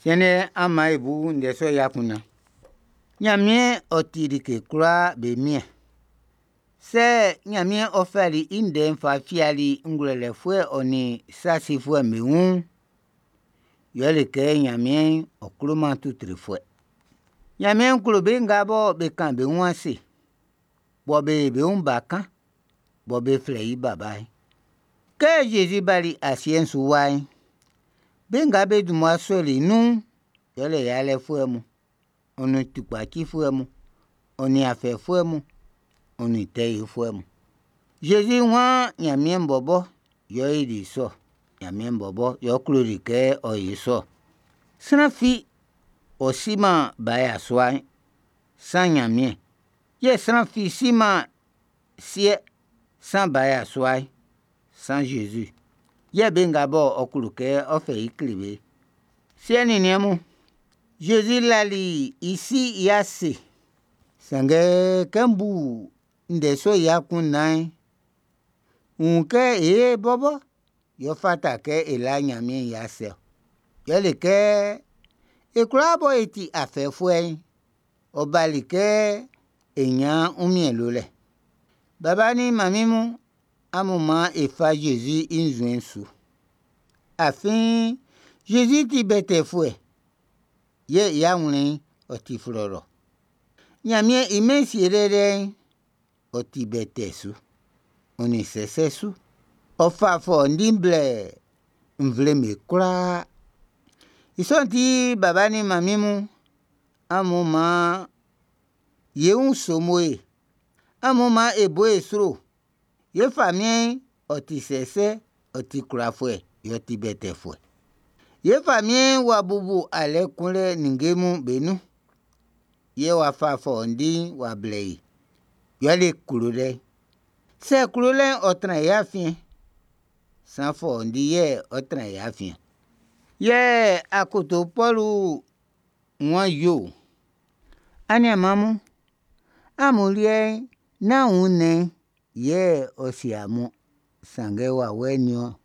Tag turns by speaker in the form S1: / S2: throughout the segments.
S1: Siɛn'n, an maan e bu ndɛ sɔ'n i akunndan. Ɲanmiɛn ɔ ti like kwlaa be Miɛn. Sɛ Ɲanmiɛn ɔ fɛli i ndɛ'n fa fiali ngwlɛlɛfuɛ ɔ nin sa sifuɛ'm be wun'n, yɛle kɛ Ɲanmiɛn ɔ kloman tutrefuɛ. Ɲanmiɛn klo be nga bɔ be kan be wun ase, bɔ be yo be wun bakan, bɔ be flɛ i Baba'n. Kɛ Zezi bali asiɛ'n su wa'n, be nga be dun mmua sɔli i nun'n, yɛle yalɛfuɛ mun, ɔ nin tukpacifuɛ mun, ɔ nin afɛfuɛ mun, ɔ nin tɛ yifuɛ mun. Zezi waan Ɲanmiɛn bɔbɔ yɛ ɔ yoli sɔ ɔ. Ɲanmiɛn bɔbɔ yɛ ɔ kloli kɛ ɔ yo sɔ ɔ. Sran fi ɔ siman ba yasua'n, san Ɲanmiɛn. Yɛ sran fi siman Siɛ'n, san ba yasua'n, san Zezi. Yɛ be nga bɔ ɔ klo kɛ ɔ fɛ i kle be'n. Siɛ nin niɛn mun, Zezi lali i Si i ase. Sanngɛ kɛ n bu ndɛ sɔ'n i akunndan'n, n wun kɛ e bɔbɔ yɛ ɔ fata kɛ e la Ɲanmiɛn i ase ɔ. Yɛle kɛ e kwlaa bɔ e ti afɛfuɛ'n, ɔ bali kɛ e ɲan wunmiɛn lolɛ. Baba nin manmin mun, amun maan e fa Zezi i nzuɛn'n su. Afin Zezi ti wɛtɛɛfuɛ, yɛ i awlɛn'n ɔ ti flɔlɔ. Ɲanmiɛn i mɛn sielɛ liɛ'n, ɔ ti wɛtɛɛ su, ɔ nin sɛsɛ su. Ɔ fa fɔundi blɛ nvle'm be kwlaa. I sɔ'n ti, baba nin manmin mun, amun maan ye wun somo e. Amun maan e bo e sro. Ye famiɛn'n, ɔ ti sɛsɛ, ɔ ti kwlafuɛ, yɛ ɔ ti wɛtɛɛfuɛ. Ye famiɛn'n w'a bubu alɛ kunlɛ ninnge mun be nun. Yɛ w'a fa fɔundi'n w'a blɛ e. Yɛle klolɛ'n. Sɛ klolɛ'n ɔ tran e afiɛn'n, san fɔundi yɛ ɔ tran e afiɛn. Yɛ akoto Pɔlu wan yoo, ʼAniaan mun, amun liɛ'n, nán wunnɛn'n yɛ ɔ sie amun sanngɛ wawɛ'n niɔn.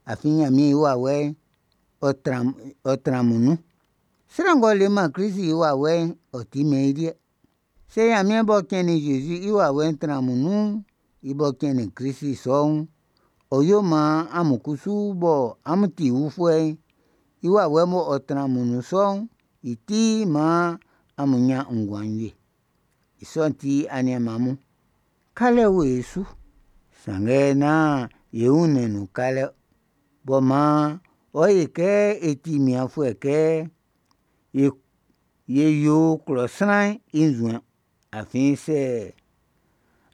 S1: Afin Ɲanmiɛn i wawɛ'n, ɔ tran amun nun. Sran ng'ɔ leman Klist i wawɛ'n, ɔ timɛn i liɛ. Sɛ Ɲanmiɛn m'ɔ cɛnnin Zezi'n i wawɛ'n tran amun nun'n, i m'ɔ cɛnnin Klist sɔ'n, ɔ́ yó maan amun kusu bɔ amun ti wufuɛ'n, i wawɛ m'ɔ tran amun nun sɔ'n, i ti maan amún ɲán nguan wie. I sɔ'n ti, aniaan mun, kalɛ wo e su. Sanngɛ nán e wunnɛn'n nun kalɛ ɔ. B'ɔ maan ɔ yo e kɛ e ti mianfuɛ kɛ e yo klɔ sran'n i nzuɛn'n. Afin sɛ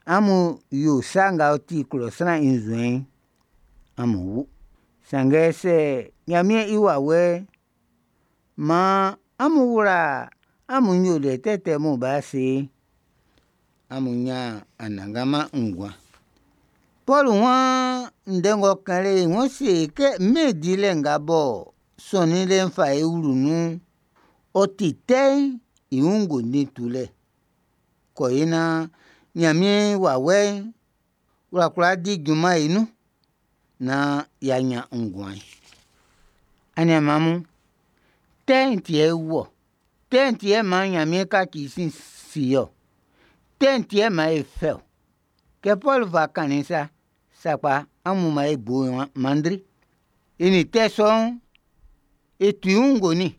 S1: amun yo sa nga ɔ ti klɔ sran i nzuɛn'n, amún wú. Sanngɛ sɛ Ɲanmiɛn i wawɛ'n maan amun wla amun nyoliɛ tɛtɛ mun be ase'n, amún ɲán anannganman nguan. Pɔlu waan ndɛ ng'ɔ kan lɛ'n, ɔ se kɛ mɛn dilɛ nga b'ɔ sɔnnin lɛ'n fa e wlu nun'n, ɔ ti tɛ'n i wun ngondin tulɛ. Kɔ e naan Ɲanmiɛn wawɛ'n w'a kwla di junman e nun naan y'a ɲan nguan'n. Aniaan mun, tɛ'n ti yɛ e wu ɔ. Tɛ'n ti yɛ maan Ɲanmiɛn kaci i sin si ye ɔ. Tɛ'n ti yɛ maan e fɛ ɔ. Kɛ Pɔlu fa kannin'n sa, sakpa amun maan e bo manndri. E nin tɛ sɔ'n, e tu i wun ngonnin.